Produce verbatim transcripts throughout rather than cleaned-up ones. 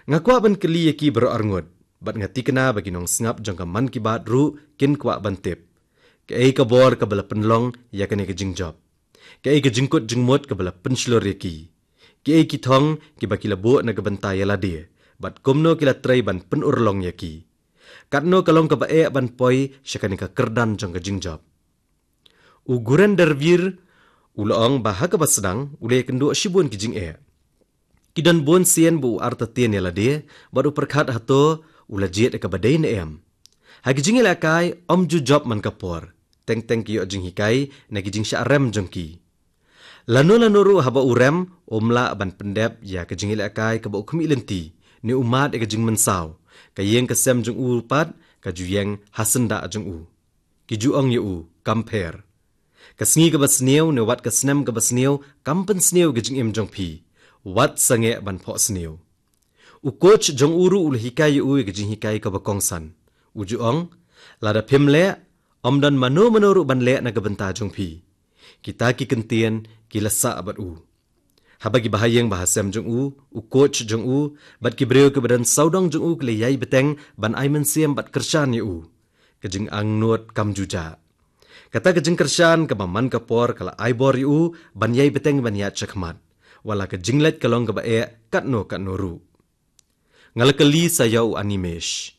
Nga kwah ban kylli ïa ki baroh arngut, bad nga tikna ba ki nongsngap jong ka Mann Ki Baat ruh kin kwah ban tip. Kaei ka bor kaba la pynlong ïa kane ka jingjop? Kaei ka jingkut jingmut kaba la pynshlur ïa ki? Kiei ki thong kiba ki la buh na ka bynta ïa lade, bad kumno ki la trei ban pynurlong ïa ki? Katno ka long kaba eh ban poi sha kane ka kyrdan jong ka jingjop? U Gurinder Vir u la ong ba ha kaba sdang u la ïakynduh shibun ki jingeh. Ki don bun sien ba u artatien ïa lade, bad u pyrkhat hato u la jied ïa kaba dei ne em. Ha ki jingïalehkai ym ju jop man ka por, teng teng ki ïoh jinghikai na ki jingshah rem jong ki. Lano lano ruh haba u rem, um lah ban pyndep ïa ka jingïalehkai kaba u khmih lynti, ne u mad ïa ka jingmynsaw. Ka ïing ka sem jong u pat ka ju ïeng ha syndah jong u. Ki ju ong ïa u, kam pher. Ka sngi kaba sniew ne wat ka snem kaba sniew kam pynsniew ïa ka jingim jong phi. Wat sangeh ban phohsniew. U coach jong u ruh u la hikai ïa u ïa ka jinghikai kaba kongsan. U ju ong, lada phim leh, ym don mano mano ruh ban leh na ka bynta jong phi. Kita ki kyntien ki la sah bad u. Haba ki bahaïing bahasem jong u, u coach jong u, bad ki briew kiba don sawdong jong u ki la ïai bteng ban ai mynsiem bad kyrshan ïa u, ka jingangnud kam ju jah. Kata ka jingkyrshan kaba man ka por ka la ai bor ïa u ban ïai bteng ban ïaid shakhmat, wat la ka jingleit ka long kaba eh katno katno ruh. Nga la kylli sa ïa u Animesh.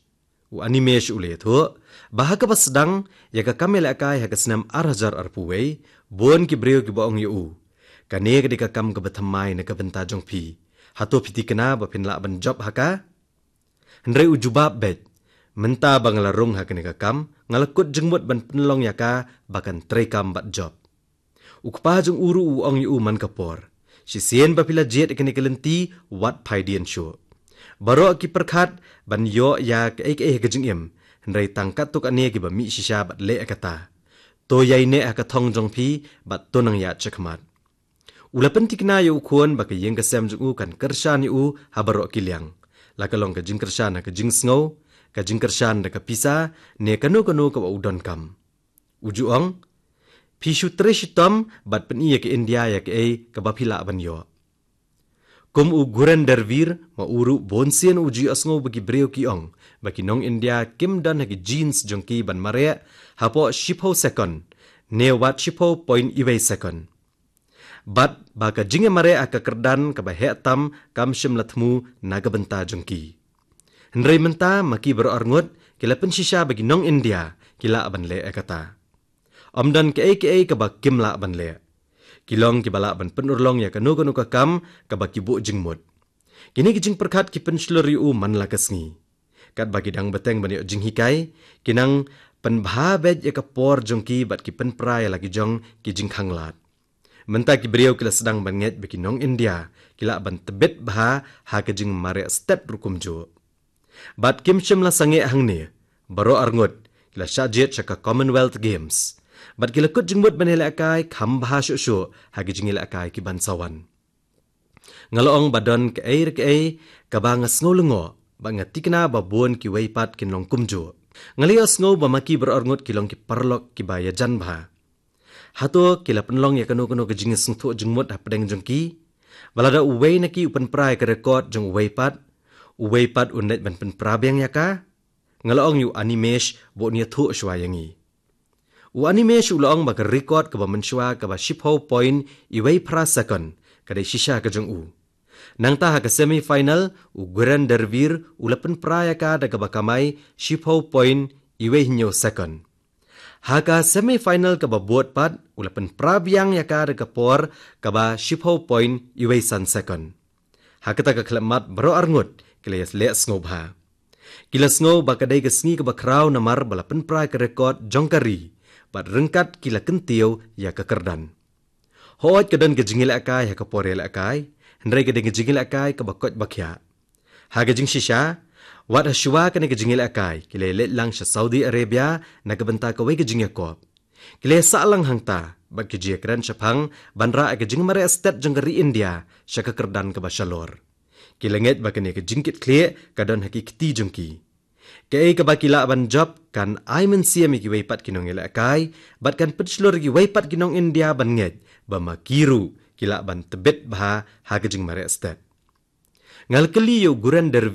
U Animesh u la ïathuh ba ha kaba sdang ïa ka kam ïalehkai ha ka snem ar hajar arphew wei, bun ki briew kiba ong ïa u, kane ka dei ka kam kaba thymmai na ka bynta jong phi. Hato phi tikna ba phin lah ban jop ha ka? Hynrei u jubab beit, mynta ba nga la rung ha kane ka kam, nga la kut jingmut ban pynlong ïa ka ba kan treikam bad jop. U kpa jong u ruh u ong ïa u man ka por, shisien ba phi la jied ïa kane ka lynti, wat phai dien shuh. Baroh ki pyrkhat ban ïoh ïa kaei kaei ha ka jingim, hynrei tang katto katne kiba mih shisha bad leh ïa kata. To ïaineh ha ka thong jong phi bad to nang ïaid shakhmat. U la pyntikna ïa u khun ba ka ïing ka sem jong u kan kyrshan ïa u ha baroh ki liang, la ka long ka jingkyrshan ha ka jingsngew, ka jingkyrshan da ka pisa, ne kano kano kaba u donkam. U ju ong, phi shu trei shitom bad pyni ïa ka India ïa kaei kaba phi lah ban ïoh. Kum u Gurinder Vir, ma u ruh bun sien u ju ïohsngew ba ki briew ki ong ba ki nong India kim don ha ki genes jong ki ban mareh hapoh shiphew second, ne wat shiphew point iwei second. Bad ba ka jingïamareh ha ka kyrdan kaba heh tam kam shym la thmu na ka bynta jong ki. Hynrei mynta ma ki baroh arngut ki la pynshisha ba ki nong India ki lah ban leh ïa kata. Ym don kaei kaei kaba kim lah ban leh. Ki long kiba lah ban pynurlong ïa kano kano ka kam kaba ki buh jingmut. Kine ki jingpyrkhat ki pynshlur ïa u man la ka sngi. Katba ki dang bteng ban ïoh jinghikai, ki nang pynbha beit ïa ka por jong ki bad ki pynpra ïa la ki jong ki jingkhanglad. Mynta ki briew ki la sdang ban ngeit ba ki nong India ki lah ban tbit bha ha ka jingmareh stet ruh kumjuh. Bad kim shym la sangeh hangne, baroh arngut ki la shah jied sha ka Commonwealth Games. Bad ki la kut jingmut ban ïalehkai kham bha shuh shuh ha ki jingïalehkai ki ban sa wan. Nga la ong ba don kaei re kaei kaba nga sngew lyngngoh, bad nga tikna ba bun kiwei pat kin long kumjuh. Nga la ïohsngew ba ma ki baroh arngut ki long ki paralok kiba ïajan bha. Hato ki la pynlong ïa kano kano ka jingïasngewthuh jingmut hapdeng jong ki? Ba lada uwei na ki u pynpra ïa ka record jong uwei pat, uwei pat un leit ban pynpra biang ïa ka? Nga la ong ïa u Animesh ba un ïathuh shuwa ïa ngi. U Animesh u la ong ba ka record kaba mynshuwa kaba shiphew point iwei phra second ka dei shisha ka jong u. Nangta ha ka semi final, u Gurinder Vir u la pynpra ïa ka da kaba kamai shiphew point iwei hynñiew second. Ha ka semi final kaba bud pat, u la pynpra biang ïa ka da ka por kaba shiphew point iwei san second. Ha kata ka khlem mat baroh arngut ki la ïaleh sngewbha. Ki la sngew ba ka dei ka sngi kaba khraw namar ba la pynpra ka record jong ka ri, bad ryngkat ki la kyntiew ïa ka kyrdan. Hooid ka don ka jingïalehkai ha ka por ïalehkai, hynrei ka dei ka jingïalehkai kaba koit ba khiah. Ha ka jingshisha, wat ha shuwa kane ka jingïalehkai ki la leit lang sha Saudi Arabia na ka bynta kawei ka jingïakop. Ki la sah lang hangta bad ki jingïakren shaphang ban rah ïa ka jingmareh stet jong ka ri India sha ka kyrdan kaba shalor. Ki la ngeit ba kane ka jingkitkhlieh ka don ha ki kti jong ki. Kaei kaba ki lah ban jop kan ai mynsiem ïa kiwei pat ki nongïalehkai, bad kan pynshlur ïa kiwei pat ki nong India ban ngeit ba ma ki ruh ki lah ban tbit bha ha ka jingmareh stet. Nga la kylli ïa u Gurinder